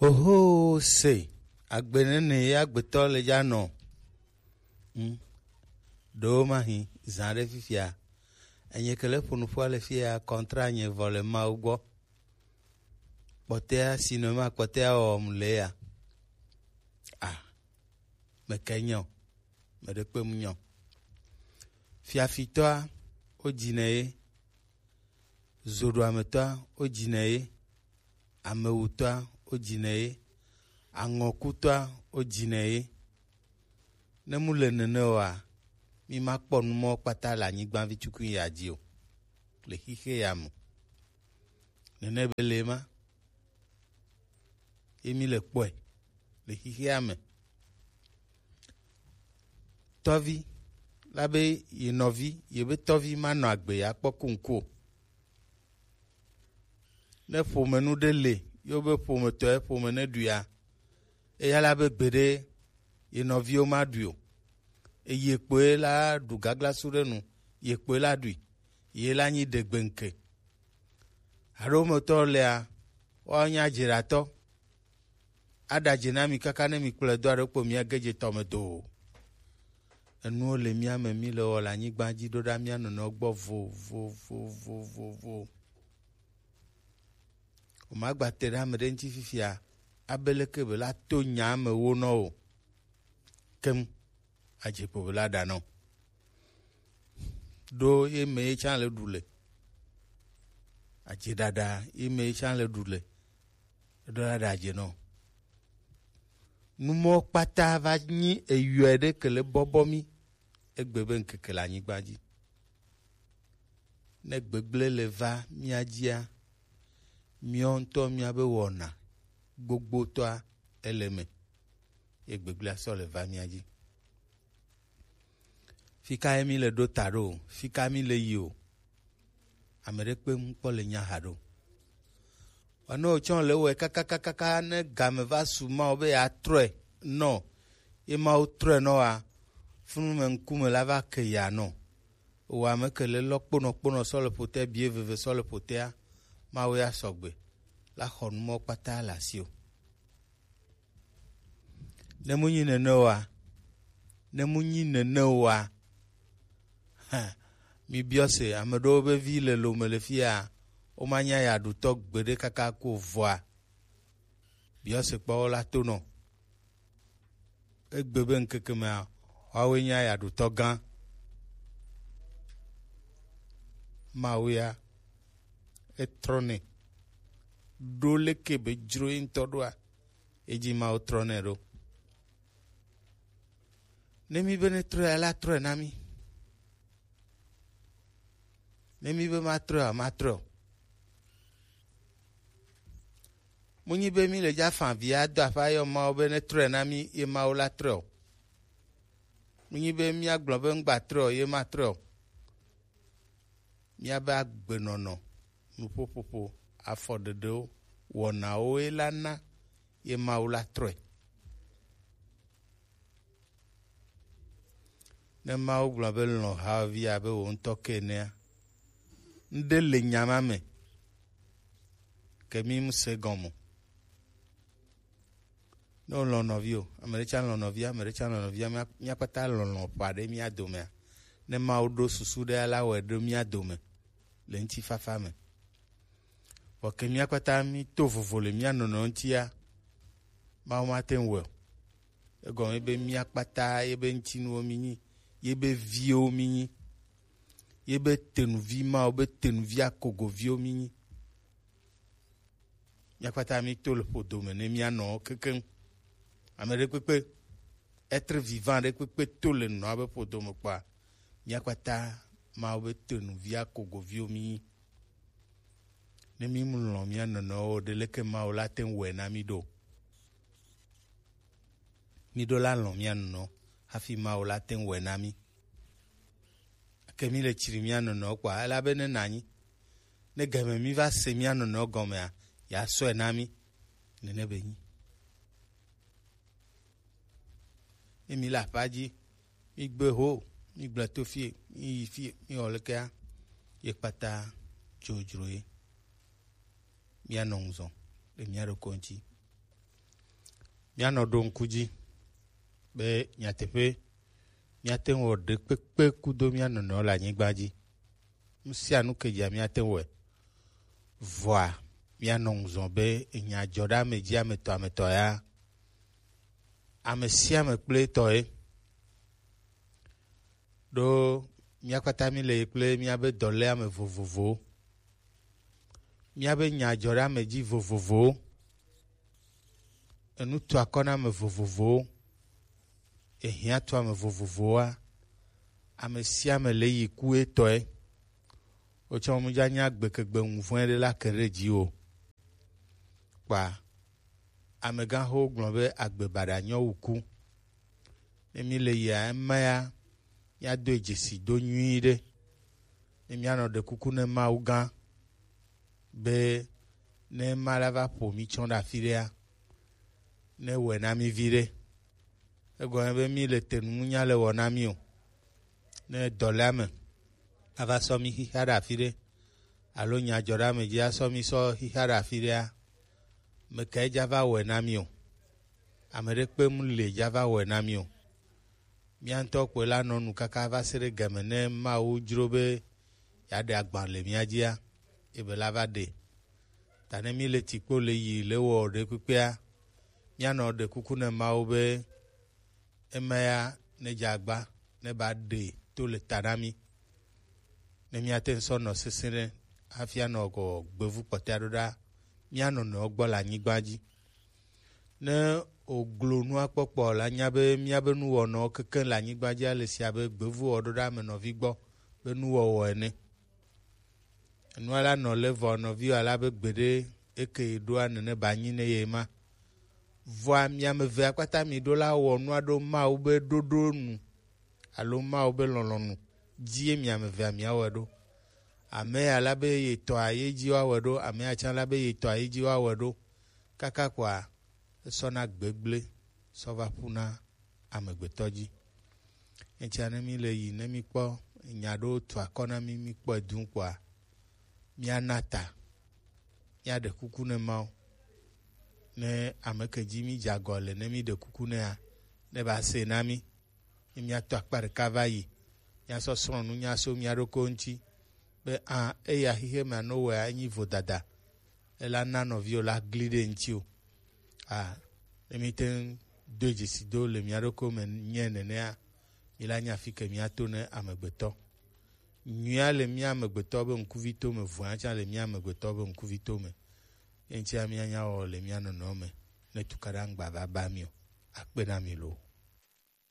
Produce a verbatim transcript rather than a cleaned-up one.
Oho, se, agbe nene ye agbetɔ le dza nɔ. Hmm. Ɖewo ma hi, zã ɖe fifia. Enye ke le ƒo nu ƒua le fia, kɔntra nye vɔ le Mawu gbɔ. Kpɔtɛa, sinema kpɔtɛa wɔm le ya. Ah, meke nyɔ, meɖe kpem nyɔ. Fiafitɔa, wo dzinɛ ye. Zoɖoametɔa, wo dzinɛ ye. Amewutɔa, wo dzinɛ ye. Aŋɔkutɔa, wo dzinɛ ye. Ne mu le nene oa, mi ma kpɔ nu mɔ kpata le anyigba vi tukui ya dzi o. Le xixe ya me. Nene be le ma. Ye mi le kpɔe. Le xixea me. Tɔvi, la be ye nɔvi, ye be tɔvi ma nɔ agbe ya kpɔ kuŋku o. Ne ƒome nu ɖe le, yo be ƒometɔ ye ƒome ne ɖuia, eya la be gbeɖe ye nɔviwo ma ɖui o. Eye kpoe la ɖu gaglasu ɖe nu, ye kpoe la ɖui, ye la nyi ɖegbeŋke. Aɖo metɔ lea, woawo nya dzeɖatɔ. Aɖa dze na mi kaka ne mi kplɔe do aɖe kpo mia ge dze tɔ me do o. Enuwo le mía me, mi le wɔ le anyigba dzi ɖo ɖa mía nɔnɔewo gbɔ vo, vo, vo, vo, vo, vo. O ma gba te ɖe ame ɖe ŋuti fifia, abe leke be la to nya me wo nɔ o. Kem. Adze kpo be la ɖa nɔ. Ɖo ye me ye tsã le ɖu le. Adze ɖaɖa ye me ye tsã le ɖu le. Eɖo la ɖa adze nɔ. Numɔ kpata va nyi eyɔe ɖe ke le bɔbɔ mi. Egbe be ŋkeke le anyigba dzi. Ne gbegblẽ le va mía dzia, míawo ŋutɔ míabe wɔna gbogbotɔa ele me, ye gbegblẽa sɔ le va mía dzi. Fika ye mi le ɖo ta ɖo o, fika mi le yi o, ame ɖe kpe ŋkpɔ le nya ha ɖo. Wane wòtsɔ le wɔe kakakakaka ne game va su Mawu be yeatrɔe nɔ, ye Mawu trɔe nɔ wa, funu me ŋkume la va ke ya nɔ. Wò ame ke le lɔ kponɔ kponɔ sɔ le ƒotea, bie veve sɔ le ƒotea, Mawu ya sɔgbe la xɔ numɔ kpata le asi o. Ne mu nyi nene oa, ne mu nyi nene oa, hã, mi biɔ se, ame ɖewo be vi le lome le fia, woma nya ya ɖutɔ gbeɖe kaka ko vɔa. Biɔ se kpɔ wo la to nɔ. Egbe be ŋkeke mea, woawoe nye ayaɖutɔ gã. Mawu ya, etrɔnɛ. Ɖo leke be dzro ye ŋutɔ ɖoa, edzi Mawu trɔnɛ ɖo. Ne mi be ne trɔe, la trɔe na mi. Ne mi be matrɔe o, matrɔe o. Mu nyi be mi le dza fa vi ado aƒe ayɔ Mawu be ne trɔe na mi, ye Mawu la trɔe o. Mu nyi be mía gblɔ be ŋgba trɔe o, ye matrɔe o. Míabe agbenɔnɔ, nuƒoƒoƒo, afɔɖeɖewo, wɔnawo ye la na ye Mawu la trɔe. Ne Mawu gblɔ be lɔ̃ hawòvi abe wò ŋutɔ ke enea, ŋɖe le nya ma me ke mi ŋusẽ gɔme o. Ne wòlɔ̃ nɔvi o, ame ɖe tsã lɔ̃ nɔvia, ame ɖe tsã lɔ̃ nɔvia, mía, mía kpata lɔlɔ̃ ƒo aɖe mía domea, ne Mawu ɖo susu ɖe la wɔe ɖo mía dome le ŋutifafa me. Vɔ ke mía kpata mí to vovo le mía nɔnɔewo ŋutia, Mawu mate ŋu wɔe o. Egɔme be mía kpata yebe ŋutinuwo mí nyi, yebe viwo mí nyi, yebe tenuvi Mawu be tenuvi akogoviwo mí nyi. Mía kpata mí to le ƒodo me ne mía nɔwo kekeŋ. Ame ɖekpekpe, être vivant ɖekpekpe to le nɔa be ƒodo me kpɔa, mía kpata Mawu be tenuvi akogoviwo mí nyi. Ne mí mu lɔ̃ mía nɔnɔewo o, ɖe leke Mawu la te ŋu wɔe na mí ɖo? Mí ɖo la lɔ̃ mía nɔnɔewo hafi Mawu la te ŋu wɔe na mí. Ke mí le tsri mía nɔnɔewo kpɔa, elabe ne nanyi, ne game mí va se mía nɔnɔewo gɔmea, yeasɔe na mí. Nene be nyi. Ne mí le aƒea dzi, mí gbe ho, mí gblẽ to fie, mí yi fie, mí wɔ lekea, ye kpata dzodzro ye. Mía nɔ ŋuzɔ le mía ɖokui ŋuti. Míanɔ ɖo ŋku dzi be nyateƒe míate ŋu wɔ ɖekpekpe kudo mía nɔnɔewo le anyigba dzi. Nu sia nu ke dzia míate ŋu wɔe. Vɔa, míanɔ ŋuzɔ be enya dzɔ ɖe ame dzi ame tɔ ame tɔ ya. Ame sia ame kple etɔ ye. Ɖo mía kpata mí le yi kple míabe dɔléame vovovowo. Míabe nya dzɔ ɖe ame dzi vovovowo. Enu tu akɔ na ame vovovowo. Ehiã tu ame vovovowoa, ame sia ame le yi ku etɔe. Wotsɔ mu dza nya gbekegbe ŋuvɔe ɖe la ke ɖe dzi o. Kpa amegãxowo gblɔ be agbe baɖa nyɔ wu ku. Ne mí le yia ema ya, míado dzesi do nyuie ɖe. Ne míanɔ ɖe kuku ne Mawu gã be ne ema la va ƒo mí tsɔ ɖe afi ɖea, ne wɔe na mí vi ɖe. Egɔme be mí le te nu nya le wɔ na mí o. Ne dɔléame ava sɔ mí xixa ɖe afi ɖe alo nya dzɔ ɖe ame dzi asɔ mí sɔ xixa ɖe afi ɖea, mekae dza va wɔe na mí o? Ame ɖekpe mu le dza va wɔe na mí o. Mía ŋutɔ kpɔe la nɔ nu kaka va se ɖe game ne Mawu dzro be yeaɖe agba le mía dzia, ebe la va ɖe. Ta ne mí le tikpo le yi le wɔ ɖe kpekpea, míanɔ ɖe kuku ne Mawu be ema ya ne dze agba ne ba ɖe to le ta na mí. Ne míate ŋu sɔ nɔ sesẽ ɖe hafi anɔ gɔ gbevu kpɔtɔa ɖo ɖa mía nɔnɔewo gbɔ le anyigba dzi. Ne wòglo nua kpɔkpɔ la, nya be míabe nuwɔnɔwo kekeŋ le anyigba dzi ale sia be gbevu wɔ ɖo ɖe ame nɔvi gbɔ be nuwɔwɔ ene. Enua la nɔ le vɔ nɔvi wɔ la be gbeɖe eke ɖoa nene ba nyi ne ye ma. Vɔa mi ame evea kpata mi ɖo la wɔ nua ɖo Mawu be ɖoɖo nu alo Mawu be lɔlɔ̃nu dzie mi ame evea miawɔe ɖo. Ame ya la be ye tɔa ye dzi woawɔe ɖo, ame ya tsã la be ye tɔa ye dzi woawɔe ɖo. Kaka kɔa esɔna gbegblẽ sɔ va ƒuna amegbetɔ dzi. Etia ne mi le yi ne mi kpɔ nya ɖo tu akɔ na mi mi kpɔe dũ kpɔa, miana ta, miaɖe kuku ne Mawu. Ne ame ke dzi mi dze agɔ le ne mi ɖe kuku nea, ne ba se na mi. Ne miato akpa ɖeka va yi, miasɔ srɔ̃ nu nya so mia ɖokuiwo ŋuti be a eya xixe ma no wɔa enyi vodada, ela na nɔviwo la gli ɖe ŋuti o. A ne mi te ŋu do dzesi do le mia ɖokuiwo me nye nenea, mi la nya fi ke miato ne amegbetɔ. Nyuia le mía amegbetɔ be ŋkuvi to me, vɔ̃a tsã le mía amegbetɔ be ŋkuvi to me. Ye ŋutia míanya wɔ le mía nɔnɔ me ne tukaɖa ŋgba va ba mi o. Akpe na mi loo.